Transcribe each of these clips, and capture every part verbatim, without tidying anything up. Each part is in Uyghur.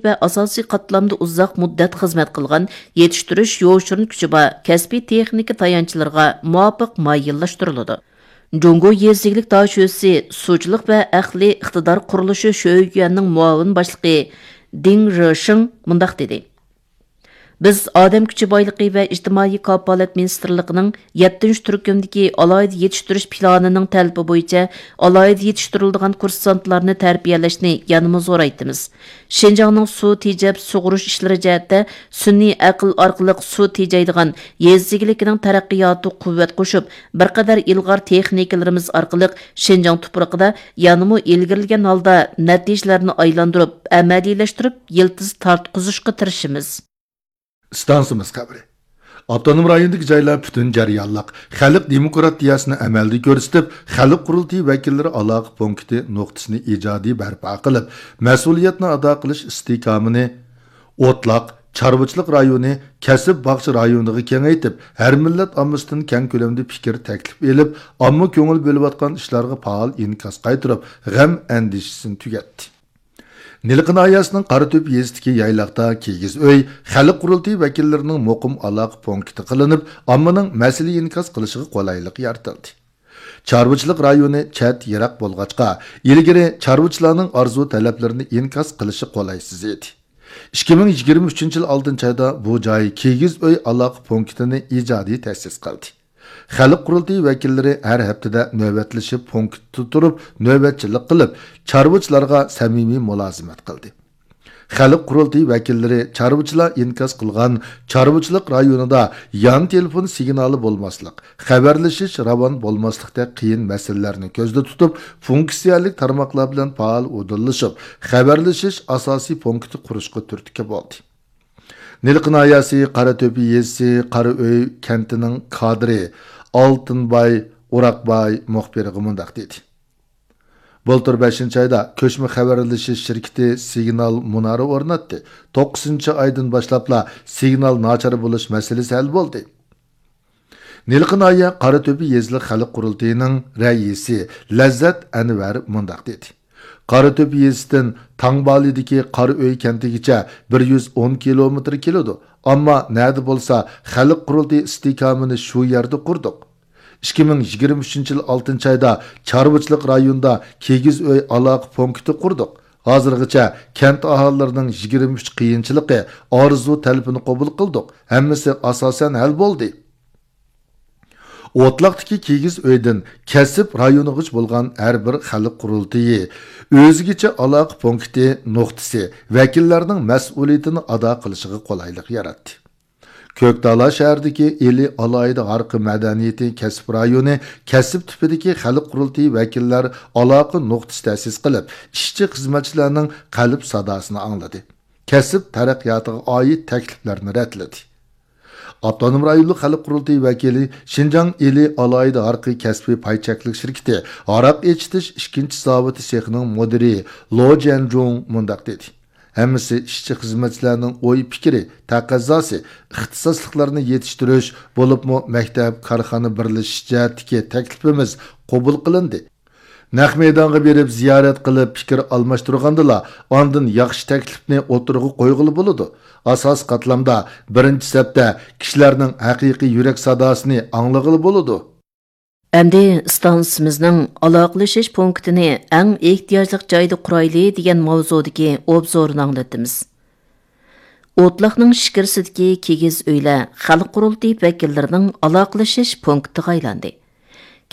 ۋە ئاساسىي قاتلامدا ئۇزاق مۇددەت خىزمەت قىلغان يېتىشتۈرۈش يوشۇرۇن كۈچى بار كەسپىي تېخنىكا تايانچلىرىغا مۇۋاپىق مايىللاشتۇرۇلىدۇ. جۇڭگو يېزا ئىگىلىك داشۆسى سۇچىلىق ۋە ئەقلىي ئىقتىدار قۇرۇلۇشى شۆيۈەننىڭ مۇئاۋىن باشلىقى دىڭ رېشىڭ مۇنداق دېدى: بىز ئادەم كۈچى بايلىقى ۋە ئىجتىمائىي كاپالەت مىنىستىرلىقىنىڭ يەتتىنچى تۈركۈمدىكى ئالاھىدە يېتىشتۈرۈش پىلانىنىڭ تەلىپى بويىچە ئالاھىدە يېتىشتۈرۈلىدىغان كۇرسانتلارنى تەربىيەلەشنى يەنىمۇ زورايتىمىز. شىنجاڭنىڭ سۇ تېجەپ سۇغۇرۇش ئىشلىرى جەھەتتە سۈنئىي ئەقىل ئارقىلىق سۇ تېجەيدىغان يېزا ئىگىلىكىنىڭ تەرەققىياتىغا قۇۋۋەت قوشۇپ، بىر قەدەر ئىلغار تېخنىكىلىرىمىز ئارقىلىق شىنجاڭ تۇپرىقىدا يەنىمۇ ئىلگىرىلىگەن ھالدا نەتىجىلەرنى ئايلاندۇرۇپ، ئەمەلىيلەشتۈرۈپ، يىلتىز تارتقۇزۇشقا تىرىشىمىز. ئىستانسىمىز خەۋىرى. ئاپتونوم رايوندىكى جايلار پۈتۈن جەريانلىق خەلق دېموكراتىيەسىنى ئەمەلدە كۆرسىتىپ، خەلق قۇرۇلتىيى ۋەكىللىرى ئالاقە پونكىتى نۇقتىسىنى ئىجادىي بەرپا قىلىپ، مەسئۇلىيەتنى ئادا قىلىش ئىستىھكامىنى ئوتلاق، چارۋىچىلىق رايونى، كەسىپ باغچە رايونىغا كېڭەيتىپ، ھەر مىللەت ئاممىسىدىن كەڭ كۆلەمدە پىكىر تەكلىپ ئېلىپ، ئامما كۆڭۈل بۆلۈۋاتقان ئىشلارغا پائال ئىنكاس قايتۇرۇپ، غەم ئەندىشىسىنى تۈگەتتى. نىلقا ناھىيەسىنىڭ قاراتۆپە يېزىسىدىكى يايلاقتا كىگىز ئۆي خەلق قۇرۇلتىيى ۋەكىللىرىنىڭ مۇقىم ئالاقە پونكىتى قىلىنىپ، ئاممىنىڭ مەسىلە ئىنكاس قىلىشىغا قولايلىق يارىتىلدى. چارۋىچىلىق رايونى چەت، يىراق بولغاچقا، ئىلگىرى چارۋىچىلارنىڭ ئارزۇ تەلەپلىرىنى ئىنكاس قىلىشى قولايسىز ئىدى. ئىككى مىڭ يىگىرمە ئۈچىنچى يىل ئالتىنچى ئايدا بۇ جاي كىگىز ئۆي ئالاقە پونكىتىنى ئىجادىي تەسىس قىلدى. خەلق قۇرۇلتىيى ۋەكىللىرى ھەر ھەپتىدە نۆۋەتلىشىپ پونكىتتا تۇرۇپ نۆۋەتچىلىك قىلىپ، چارۋىچىلارغا سەمىمىي مۇلازىمەت قىلدى. خەلق قۇرۇلتىيى ۋەكىللىرى چارۋىچىلار ئىنكاس قىلغان چارۋىچىلىق رايونىدا يان تېلېفون سىگنالى بولماسلىق، خەۋەرلىشىش راۋان بولماسلىقتەك قىيىن مەسىلىلەرنى كۆزدە تۇتۇپ، فۇنكسىيەلىك تارماقلار بىلەن پائال ئۇدۇللىشىپ، خەۋەرلىشىش ئاساسىي پونكىتى قۇرۇشقا تۈرتكە بولدى. نىلقا ناھىيەسى قاراتۆپە يېزىسى قارا ئۆي كەنتىنىڭ كادىرى ئالتۇنباي ئوراقباي مۇخبىرغا مۇنداق دېدى: بۇلتۇر بەشىنچى ئايدا كۆچمە خەۋەرلىشىش شىركىتى سىگنال مۇنارى ئورناتتى. توققۇزىنچى ئايدىن باشلاپلا سىگنال ناچار بولۇش مەسىلىسى ھەل بولدى. نىلقا ناھىيە قاراتۆپە يېزىلىق خەلق قۇرۇلتىيىنىڭ رەئىسى لەززەت ئەنۋەر مۇنداق دېدى: قاراتۆپە يېزىسىدىن تاڭبالىدىكى قارا ئۆي كەنتىگىچە بىر يۈز ئون كىلومېتىر كېلىدۇ. ئەمما نەدە بولسا خەلق قۇرۇلتىيى ئىستىھكامىنى شۇ يەردە قۇردۇق. ئىككى مىڭ يىگىرمە ئۈچىنچى يىل ئالتىنچى ئايدا چارۋىچىلىق رايونىدا كىگىز ئۆي ئالاقە پونكىتى قۇردۇق. ھازىرغىچە كەنت ئاھالىلىرىنىڭ يىگىرمە ئۈچ قىيىنچىلىقى، ئارزۇ تەلىپىنى قوبۇل قىلدۇق. ھەممىسى ئاساسەن ھەل بولدى. ئوتلاقتىكى كىگىز ئۆيدىن كەسىپ رايونىغىچە بولغان ھەر بىر خەلق قۇرۇلتىيى ئۆزگىچە ئالاقە پونكىتى نۇقتىسى ۋەكىللەرنىڭ مەسئۇلىيىتىنى ئادا قىلىشىغا قولايلىق ياراتتى. كۆكتالا شەھىرىدىكى ئىلى ئالاھىدە ھارقى مەدەنىيىتى كەسىپ رايونى كەسىپ تىپىدىكى خەلق قۇرۇلتىيى ۋەكىللەر ئالاقە نۇقتىسى تەسىس قىلىپ، ئىشچى خىزمەتچىلەرنىڭ قەلب ساداسىنى ئاڭلىدى. كەسىپ تەرەققىياتىغا ئائىت تەكلىپلەرنى رەتلىدى. ئاپتونوم رايونلۇق خەلق قۇرۇلتىيى ۋەكىلى، شىنجاڭ ئىلى ئالاھىدە ھارقى كەسپىي پاي چەكلىك شىركىتى ھاراق ئېچىتىش ئىككىنچى زاۋۇتى سېخىنىڭ مۇدىرى لو جيەنجۇڭ مۇنداق دېدى: ھەممىسى ئىشچى خىزمەتچىلەرنىڭ ئوي پىكرى، تەقەززاسى، ئىختىساسلىقلارنى يېتىشتۈرۈش، بولۇپمۇ مەكتەپ، كارخانا بىرلىشىش جەھەتتىكى تەكلىپىمىز قوبۇل قىلىندى. نەق مەيدانغا بېرىپ زىيارەت قىلىپ پىكىر ئالماشتۇرغاندىلا، ئاندىن ياخشى تەكلىپنى ئوتتۇرىغا قويغىلى بولىدۇ. ئاساسىي قاتلامدا، بىرىنچى سەپتە كىشىلەرنىڭ ھەقىقىي يۈرەك ساداسىنى ئاڭلىغىلى بولىدۇ. ئەمدى ئىستانسىمىزنىڭ ئالاقىلىشىش پونكىتىنى ئەڭ ئېھتىياجلىق جايدا قۇرايلى دېگەن ماۋزۇدىكى ئوبزورنى ئاڭلىتىمىز. ئوتلاقنىڭ ئىچكىرىسىدىكى كىگىز ئۆيلەر خەلق قۇرۇلتىيى ۋەكىللىرىنىڭ ئالاقىلىشىش پونكىتىغا ئايلاندى.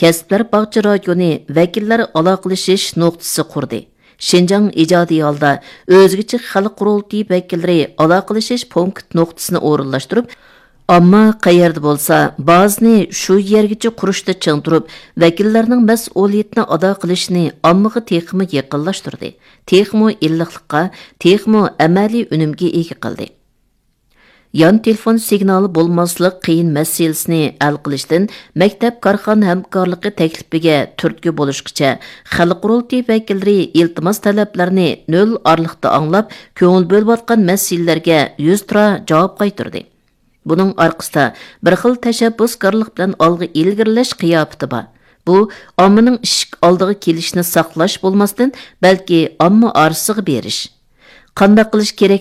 كەسىپلەر باغچە رايونى ۋەكىللەر ئالاقىلىشىش نۇقتىسى قۇردى. شىنجاڭ ئىجادىي ھالدا ئۆزگىچە خەلق قۇرۇلتىيى ۋەكىللىرى ئالاقىلىشىش پونكىت نۇقتىسىنى ئورۇنلاشتۇرۇپ، ئامما قەيەردە بولسا بازىنى شۇ يەرگىچە قۇرۇشتا چىڭ تۇرۇپ، ۋەكىللەرنىڭ مەسئۇلىيىتىنى ئادا قىلىشىنى ئاممىغا تېخىمۇ يېقىنلاشتۇردى، تېخىمۇ ئىللىقلىققا، تېخىمۇ ئەمەلىي ئۈنۈمگە ئىگە قىلدى. يان تېلېفون سىگنالى بولماسلىق قىيىن مەسىلىسىنى ھەل قىلىشتىن مەكتەپ كارخانا ھەمكارلىقى تەكلىپىگە تۈرتكە بولۇشقىچە، خەلق قۇرۇلتىيى ۋەكىللىرى ئىلتىماس تەلەپلەرنى نۆل ئارىلىقتا ئاڭلاپ، كۆڭۈل بۆلۈۋاتقان مەسىلىلەرگە يۈزتۇرا جاۋاب قايتۇردى. بۇنىڭ ئارقىسىدا بىر خىل تەشەببۇسكارلىق بىلەن ئالغا ئىلگىرىلەش قىياپىتى بار. بۇ ئاممىنىڭ ئىشىك ئالدىغا كېلىشىنى ساقلاش بولماستىن، بەلكى ئامما ئارىسىغا بېرىش. قانداق قىلىش كېرەك؟